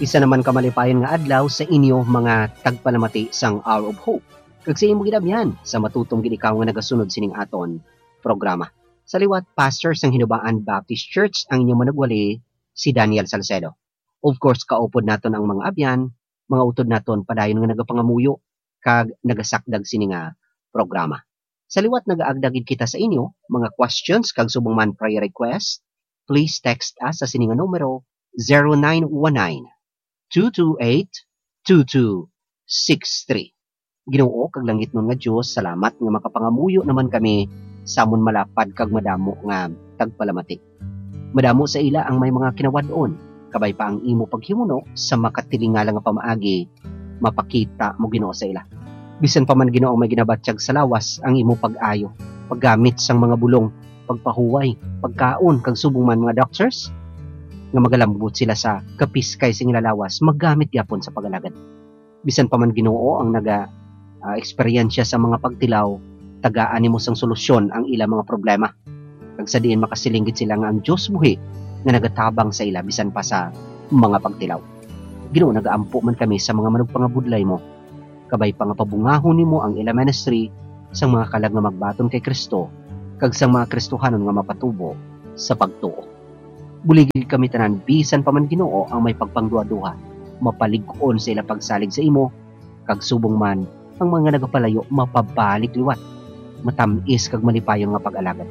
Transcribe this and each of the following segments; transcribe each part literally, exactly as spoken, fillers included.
Isa naman ka malipayon nga adlaw sa inyo, mga tagpalamati sang Hour of Hope, kag sa imo gid abyan sa matutom gid ikaw nga nagasunod sining aton programa. Sa liwat, pastor sang Hinubaan Baptist Church ang inyo manugwali, si Daniel Salcedo. Of course, kaupod naton ang mga abyan, mga utod naton padayon nga nagapangamuyo kag nagasakdag sini nga programa. Sa liwat, nagaagda gid kita sa inyo mga questions kag subong man prayer request, please text us sa sini nga numero, zero nine one nine, two two eight, two two six three. Ginoo kag langitnon nga Dios, salamat nga makapangamuyo naman kami sa amon malapad kag madamo nga tagpalamati. Madamo sa ila ang may mga kinawad-on, kabay pa ang imo paghimuno sa makatilingala nga pamaagi mapakita mo, Ginoo, sa ila. Bisan pa man, Ginoo, may ginabatyag sa lawas ang imo pag-ayo, paggamit sang mga bulong, pagpahuway, pagkaon, kag subong man mga doctors, nga magalambot sila sa kapiskay sa ila lawas, magamit gyapon sa pag-alagad. Bisan pa man, Ginoo, ang naga, ah, eksperyensya sa mga pagtilaw, tagaan nimo sang solusyon ang ila mga problema. Kag sa diin makasiling gid sila nga ang Dios buhi nga nagatabang sa ila bisan pa sa mga pagtilaw. Ginoo, nagaampo man kami sa mga manugpangabudlay mo, kabay pa nga pabungahon nimo ang ila ministry sang mga kalag nga magbaton kay Kristo kag sang mga Kristohanon nga mapatubo sa pagtuo. Buligi kami tanan, bisan pa man, Ginoo, ang may pagpangduhaduha, mapalig-on sa ila pagsalig sa imo, kag subong man ang mga nagapalayo mapabalik liwat, matam-is kag malipayon nga pag-alagad.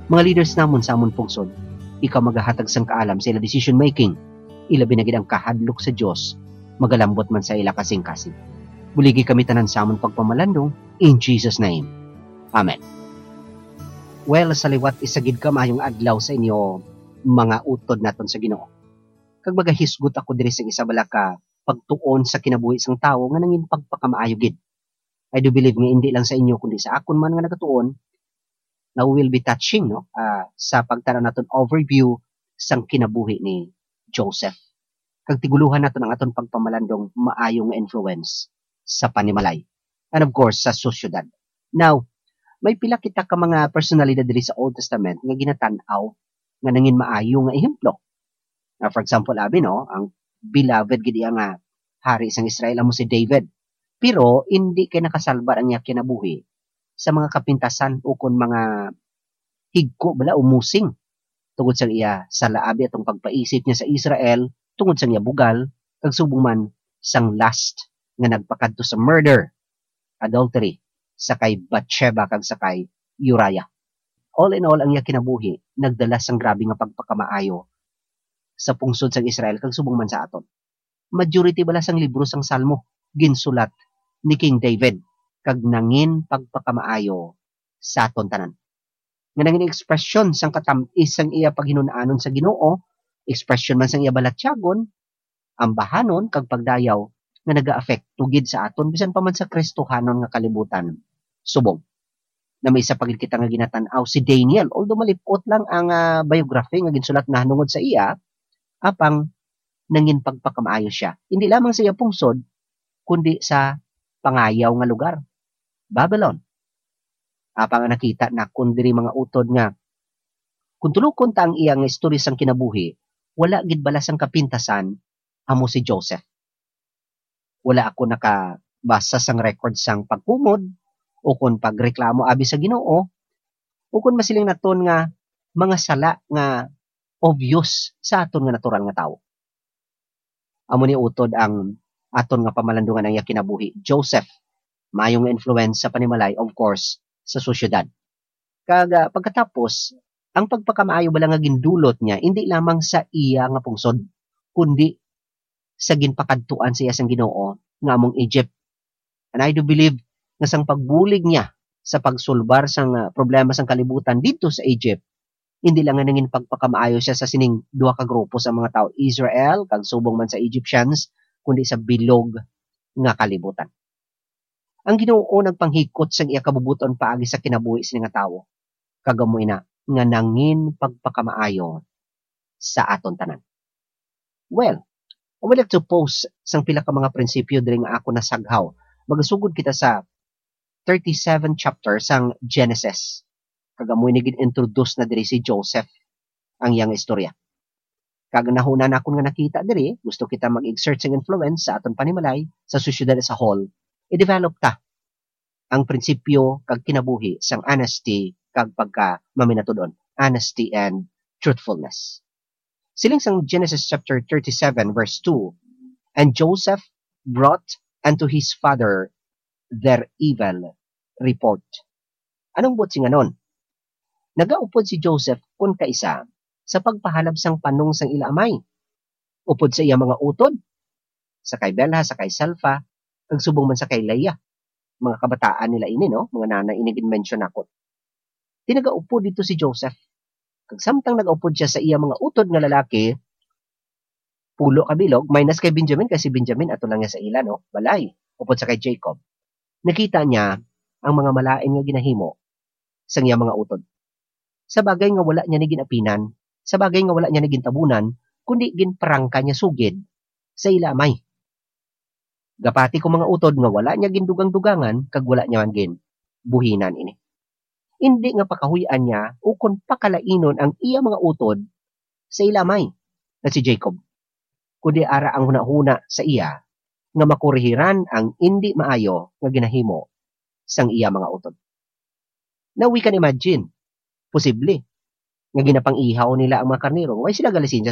Mga leaders namon sa amon pungsod, ikaw magahatag sang kaalam sa ila decision making, ilabi na gid ang kahadlok sa Dios magalambot man sa ila kasing-kasing. Buligi kami tanan sa amon pagpamalandong, in Jesus' name. Amen. Well, sa liwat, isa gid ka maayong adlaw sa inyo, mga utod naton sa Ginoo. Kag magahisgot ako diri sa isa bala ka pagtuon sa kinabuhi sang tawo nga nangin pagpakamaayo gid. I do believe nga indi lang sa inyo, kundi sa akon man nga nagatuon, na we will be touching, no, ah, sa pagtanaw naton overview sang kinabuhi ni Joseph. Kag tigulohan naton ang aton pagpamalandong maayo nga influence sa panimalay. And of course, sa sosyedad. Now, may pila kita ka mga personalidad diri sa Old Testament nga ginatan-aw nga nangin maayo nga ehemplo. Now, for example, abi, no, ang beloved gid iya nga hari sang Israel amo si David. Pero indi kay nakasalbar ang iya kinabuhi sa mga kapintasan ukon mga higko bala o musing, tungod sang iya sala, abi, atong pagpaisip niya sa Israel, tungod sang iya bugal, kag subong man sang lust nga nagpakadto sa murder, adultery, sa kay Bathsheba kag sa kay Uriah. All in all, ang iya kinabuhi nagdala sang grabe nga pagpakamaayo sa pungsod sang Israel kag subong man sa aton. Majority bala sang libro sang Salmo ginsulat ni King David kag nangin pagpakamaayo sa aton tanan. Nga nangin ekspresyon sang katam-is sang iya paghinun-anon sa Ginoo, ekspresyon man sang iya balatyagon, ambahanon, kag pagdayaw nga nagaapekto gid sa aton bisan pa man sa Kristohanon nga kalibutan. Subong na may isa pa gid kita nga ginatan-aw, si Daniel. Although malip-ot lang ang, ah, biography nga ginsulat nahanungod sa iya, apang nangin pagpakamaayo sia, indi lamang sa iya pungsod, kundi sa pangayaw nga lugar, Babylon. Apang ang nakita nakon diri, mga utod, nga kung tulokon ta ang iya nga istorya sang kinabuhi, wala gid bala sang kapintasan amo si Joseph. Wala ako nakabasa sang record sang pagkumod ukon pagreklamo abi sa Ginoo, ukon masiling naton nga mga sala nga obvious sa aton nga natural nga tawo. Amo ni utod ang aton nga pamalandungan ang iya kinabuhi. Joseph, maayo nga influence sa panimalay, of course, sa sosyedad. Kag, ah, pagkatapos, ang pagpakamaayo bala nga gindulot niya indi lamang sa iya nga pungsod, kundi sa ginpakadtuan sa iya sang Ginoo nga among Egypt. And I do believe nga sang pagbulig niya sa pagsulbar sang, ah, problema sang kalibutan didto sa Egypt, hindi lang nga nangin pagpakamaayo siya sa sining duha ka grupo sa mga tawo, Israel kag subong man sa Egyptians, kundi sa bilog nga kalibutan. Ang Ginoo nagpanghikot sang iya kabubut-on paagi sa kinabuhi sini nga tawo, kag amo ina nga nangin pagpakamaayo sa aton tanan. Well, I would like to post sang pila ka mga prinsipyo diri nga ako nasaghaw. Magasugod kita sa thirty-seven chapter sang Genesis. Kag amo ini gin-introduce na diri si Joseph, ang iyang istorya. Kag nahuna nakon nga nakita diri, gusto kita mag-exert sing influence sa aton panimalay, sa sosyedad as a whole, i-develop ta ang prinsipyo kag kinabuhi sang honesty kag pagka maminatud-on, honesty and truthfulness. Siling sang Genesis chapter thirty-seven, verse two, "And Joseph brought unto his father their evil report." Anong buot sing anon? Nagaupod si Joseph kon kaisa sa pagpahalab sang panong sang ila amay, upod sa iya mga utod, sa kay Bilha, sa kay Silpah, kag subong man sa kay Leah. Mga kabataan nila ini, no? Mga nanay ini gin-mention nako. Di nagaupod dito si Joseph. Kag samtang nagaupod siya sa iya mga utod nga lalaki, pulo ka bilog, minus kay Benjamin, kay si Benjamin ato lang niya sa ila, no? Balay, upod sa kay Jacob. Nakita niya ang mga malain nga ginahimo sang iya mga utod. Sa bagay nga wala niya ni ginapinan, sa bagay nga wala niya ni gintabunan, kundi ginparangka niya sugid sa ila amay. Gapati ko mga utod nga wala niya gindugang-dugangan kag wala niya man ginbuhinan ini. Indi nga pakahuy-an niya ukon pakalainon ang iya mga utod sa ila amay nga si Jacob, kundi ara ang hunahuna sa iya nga makurihiran ang indi maayo nga ginahimo sang iya mga utod. Now we can imagine, posible nga ginapang-ihaw nila ang mga karnero. Way sila galisensya